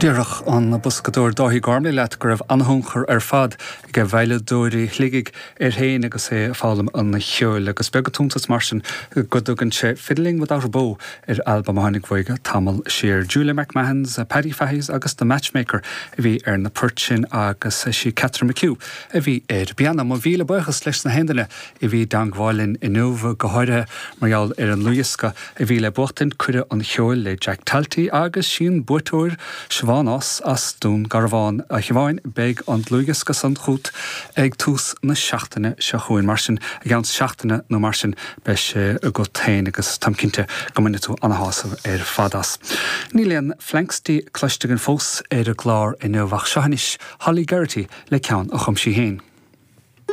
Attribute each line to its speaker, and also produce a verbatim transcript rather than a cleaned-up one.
Speaker 1: Déarfadh an boscadóir Dáithí Gormley leat go raibh an-tionchar ar fad ag veidhleadóirí Shligigh air féin agus é ag foghlaim an cheoil agus beag an t-iontas mar sin go dtugann sé Fiddling Without a Bow ar albam a tháinig uaidh tamall siar. Julia McMahons, Paddy Fahy's agus The Matchmaker a bhí ar na poirt sin agus sí Catherine McHugh a bhí ar an bpianó. Mo mhíle buíochas leis na haon duine a bhí i dteangmháil linn inniu go háirithe mar gheall ar an dlúthdhiosca a bhí le buachtaint Cuireadh an Cheoil le Jack Talty agus sin buaiteoir Siobhán as Dún Garbhán a Shiobháin beidh an dlúthdhiosca san chugat ag tús na seachtaine seo chugainn mar sin i gceann seachtaine nó mar sin beidh sé agat féin agus táim cinnte go mbainfidh tú an-shásamh ar fad as. Níl aon Phlanxty cloiste againn fós ar an gclár inniu ach seo anois Holly Geraghty le ceann a chum sí féin.